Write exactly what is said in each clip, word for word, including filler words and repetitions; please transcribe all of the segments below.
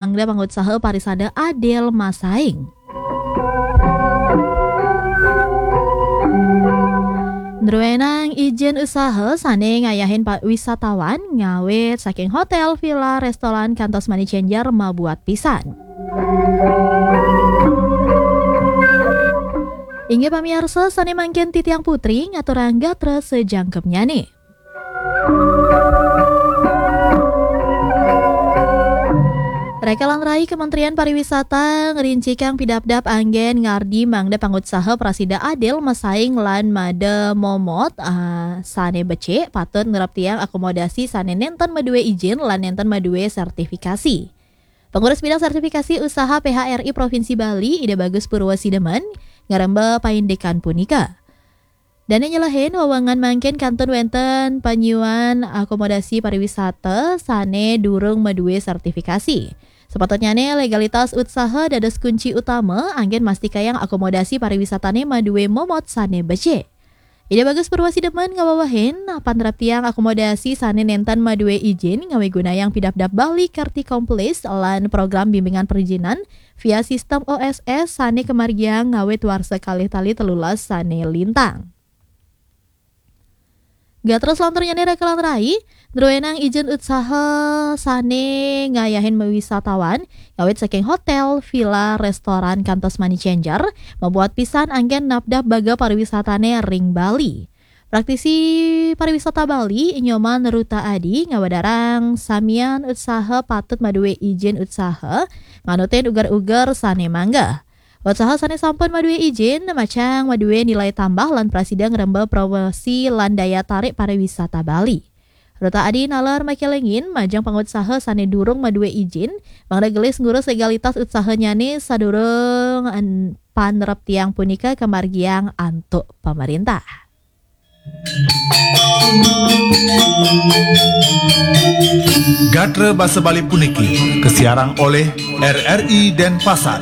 mangda pangutsaha parisada adil masaing. Druenang ijin usaha sane ngayahin pa-, wisatawan ngawit saking hotel, villa, restoran, kantos money changer mabuat pisan. Inggih pamiarsa, sane mangkin titiang Putri ngaturang gatra sajangkepnyane. Rekalan Rai, Kementerian Pariwisata ngrincikang pidabdab anggen ngardi mangda pangutsaha prasida adil masaing lan mada momot, ah, sane becik patut nreptiang akomodasi sane nenten madue ijin lan nenten madue sertifikasi. Pengurus Bidang Sertifikasi Usaha P H R I Provinsi Bali, Ida Bagus Purwasidemen, ngaremba paindikan punika. Dane nyelehin, wewengan mangkin kantun wenten panyuan akomodasi pariwisata sane durung madue sertifikasi. Sepatutnyane legalitas utsaha dados kunci utama anggen mastikayang akomodasi pariwisatane madue momot sane becik. Ida Bagus Purwasidemen ngawewehin, panraptiang akomodasi sane nenten madue ijin ngawigunayang pidabdab Bali Karti Komplis lan program bimbingan perizinan via sistem O S S sane kamargiang ngawit warsa kalih tali telulas sane lintang. Gatra selanturnyane Rekalan Rai, druenang ijin utsaha sane ngayahin wisatawan, ngawit saking hotel, villa, restoran, kantos money changer, mabuat pisan anggen napdap baga pariwisatane ring Bali. Praktisi pariwisata Bali, Nyoman Ruta Adi, ngawedarang samian utsaha patut madue ijin utsaha, nganutin uger-uger sane mangga. Utsaha sane sampun madue ijin, macang madue nilai tambah lan prasida ngremba promosi lan daya tarik pariwisata Bali. Ruta Adi nalar makelengin majeng pangutsaha sane durung madue ijin, mangda gelis ngurus legalitas utsahanyane sadurung en-, panreptiang punika kamargiang antuk pamarintah. Gatra basa Bali puniki kasiarang oleh R R I Denpasar.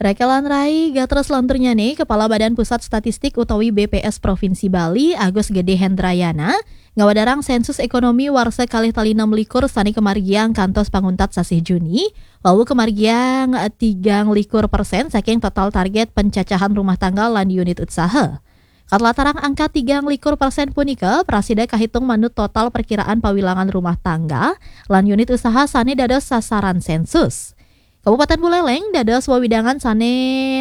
Rekalan Rai, gatra selanturnyane, Kepala Badan Pusat Statistik utawi B P S Provinsi Bali, Agus Gede Hendrayana, ngawedarang sensus ekonomi warsa kalih tali enam likur sane kamargiang kantos panguntat sasih Juni, wau kamargiang tigang likur persen saking total target pencacahan rumah tangga lan unit usaha. Katlatarang angka tigang likur persen punika prasida kahitung manut total perkiraan pawilangan rumah tangga lan unit usaha sane dados sasaran sensus. Kabupaten Buleleng dados wewidangan sane,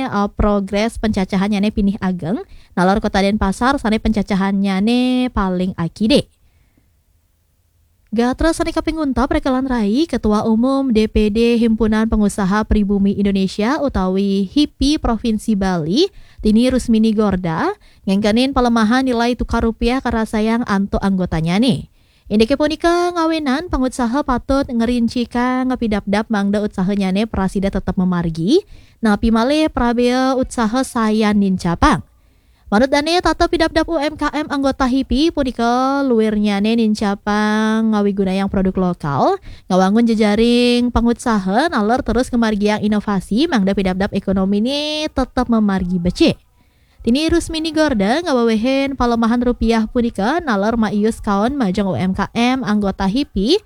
eh, progres pencacahannyane pinih ageng, nalar Kota Denpasar sane pencacahannyane paling akide. Gatra sane kaping untat, Rekalan Rai, Ketua Umum D P D Himpunan Pengusaha Pribumi Indonesia utawi hipi Provinsi Bali, Tini Rusmini Gorda, ngengkenin palemahan nilai tukar rupiah karasayang antuk anggotanyane. Indike punika ngawinan pangutsaha patut ngrincikang pidabdab mangda utsahanyane prasida tetep mamargi, napi malih prabea utsaha sayan nincapang. Manut dane tata pidabdab U M K M anggota hipi punika luirnyane nincapang ngawigunayang produk lokal, ngawangun jejaring pangutsaha, nalar terus ngamargiang inovasi mangda pidabdab ekonomine tetep mamargi becik. Tini Rusmini Gorda ngawewehin palemahan rupiah punika nalar maius kaon majeng U M K M anggota hipi,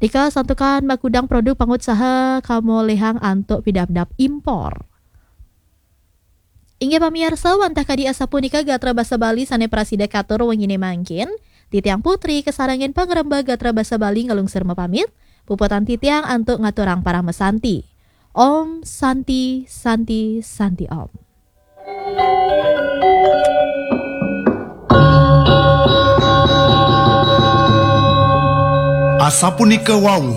nika santukan makudang produk pangutsaha kamolihang antuk pidabdab impor. Inggih pamiarsa, wantah kadi asapunika gatra basa Bali sane prasida katur wengine mangkin. Titiang Putri kasarengin pangremba gatra basa Bali ngalungsur mapamit. Puputang titiang antuk ngaturang parama santi. Om Santi, Santi, Santi Om. Asapunika wau